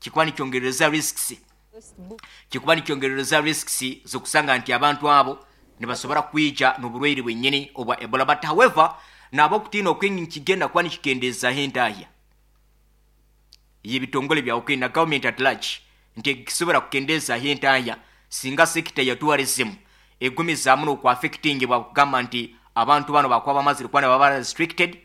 Kikuba nikyongerereza risks, kikuba nikyongerereza risks z'okusanga nti abantu abo nibasobora kwija n'oburwaire bwenyini obwa Ebola. But however, nabo okutiina okwingi nikigenda kuba nikikendeezaho entahya y'ebitongole bya Ukraine na government at large nti ekisobora kukendeezaho entahya singa sector ya tourism egumizaamu n'okuaffectingibwa, kugamba nti abantu bano bakuba bamazire kuba nibaba restricted,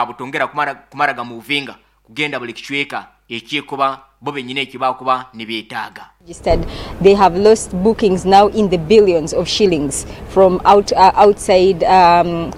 butongera kumara, kumara gamovinga kugenda buli kicweka ekyekuba bo benyini eki bakuba nibeetaaga. Registered. They have lost bookings now in the billions of shillings from outside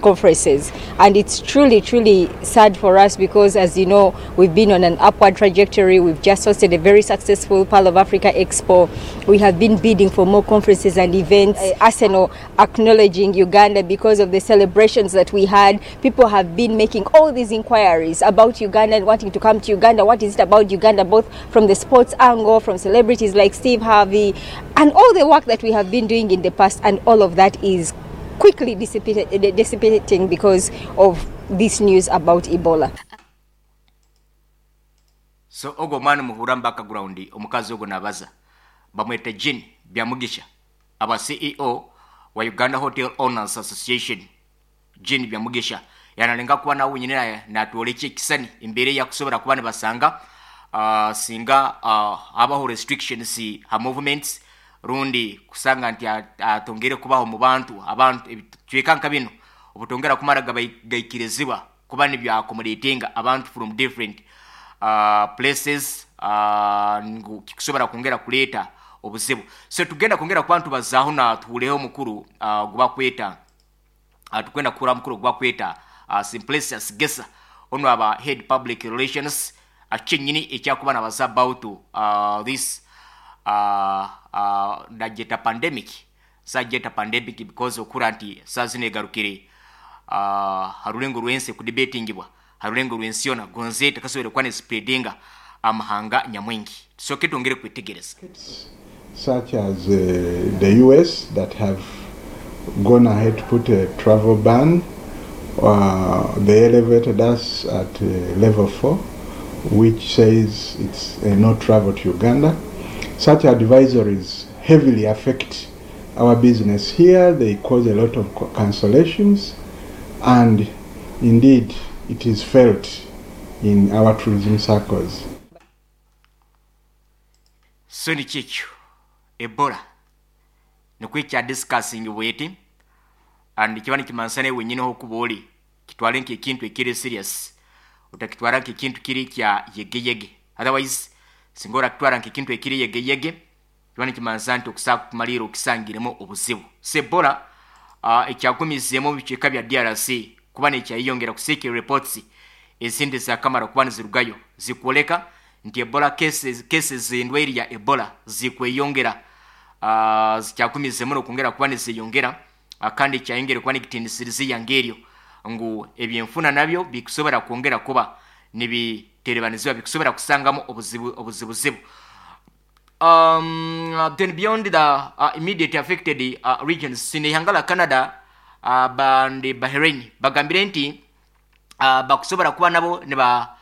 conferences, and it's truly, truly sad for us because, as you know, we've been on an upward trajectory. We've just hosted a very successful Pearl of Africa Expo. We have been bidding for more conferences and events. Arsenal acknowledging Uganda because of the celebrations that we had. People have been making all these inquiries about Uganda and wanting to come to Uganda. What is it about Uganda, both from the sports angle, from celebrities like Steve Harvey, and all the work that we have been doing in the past, and all of that is quickly dissipating because of this news about Ebola. So ogwo omwana muhura mu background, omukazi ogwo nabaza bamweta Jane Byamugisha, aba CEO wa Uganda Hotel Owners Association. Jane Byamugisha yanalenga kuba nawe wenyine natwolekya ekisani embeera eyakusobora kuba nibasanga singa habaho restrictions ha movements, rundi kusanga nti atongere kubaho mu bantu. Abantu ebicweka nka bino obutongera kumara gaikirizibwa kuba nibyo accommodatinga abantu from different places, ngu kikusobora kwongera kuleeta obuzibu. So tugenda kwongera kuba ntubazaaho na tuhuleho omukuru gubakweta, tukwenda kuhura mukuru gubakweta Simplicius Gesa, ono aba head public relations, kyenyini ekyakuba nabaza about this nageta pandemic. Sajeta pandemic because okura nti saa zino egarukire harulengo rwensi kudebatingibwa harulengo rwensi yona gonze takasobora kuba nespreadinga amahanga nyamwingi. Tusoke twongere kwitegereza. Such as the US that have gone ahead to put a travel ban. They elevated us at level 4, which says it's no travel to Uganda. Such advisories heavily affect our business here. They cause a lot of cancellations, and indeed it is felt in our tourism circles. So nikikyo Ebola nikwo ekyadiscussing bweti, and kiba nikimansa nawe wenyini hokuba ori kitwale nk'ekintu ekiri serious, otakitwara nk'ekintu kiri kya yegeyege. Otherwise singa orakitwara nk'ekintu ekiri yegeyege, kiba nikimansa nti okusa kumalira okisangiremu obuzibu. So Ebola ekyagumizeemu mu bicweka bya DRC kuba nekyayeyongera kusiikira. Reports ezindi zakamara kuba nizirugayo zikwoleka nti Ebola cases endwaire ya Ebola zikweyongera, zikyagumizemu nokwongera kuba nizeyongera, kandi kyayongere kuba nikitinisiriza ngeryo ngu ebyenfuna nabyo bikusobora kwongera kuba nibiterebanizibwa, bikusobora kusangamu obuzibu obuzibuzibu. Then beyond the immediate affected regions, sine ihanga la Canada bandi Bahrain bagambire nti bakusobora kuba nabo niba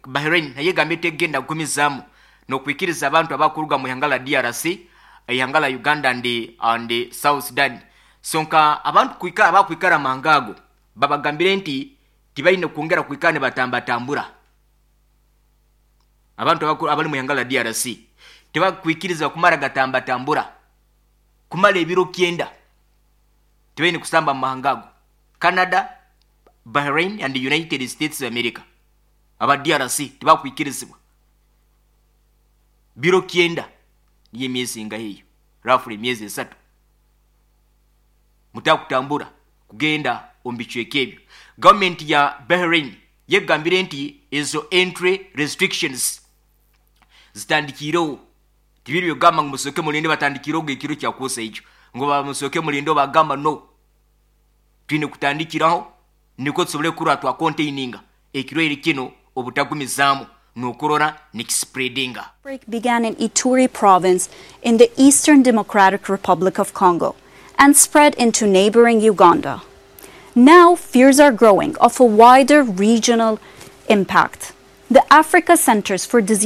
Bahrain naye egambye tegenda kugumizaamu n'okwikiriza abantu abakuruga mu ihanga la DRC, ihanga la Uganda and South Sudan. So nka abantu kwikara abakwikara amahanga ago babagambire nti tibalina kwongera kwikara nibatambatambura. Abantu abali mu ihanga la DRC tebakwikiriza kumara gatambatambura kumara ebiro 90. Tibalina kusamba mu mahanga ago, Canada, Bahrain and United States of America. Aba DRC tebakwikirizibwa biro 90, niyo emyezi nga eyo, roughly emyezi 3, mutakutambura kugenda omu bicweka ebyo. Gavumenti ya Bahrain yegambire nti ezo entry restrictions zitandikirewo. Tibiri byogamba ngu musoke mulinde, batandikirewo ekiro kyakuusa ekyo ngu bamusoke mulinde, bagamba no, twine kutandikiraho nikwo tusobole kurora twacontaininga ekirwaire kino obutagumizaamu n'okurora nikispreadinga. Outbreak began in Ituri province in the Eastern Democratic Republic of Congo and spread into neighboring Uganda. Now, fears are growing of a wider regional impact. The Africa Centers for Disease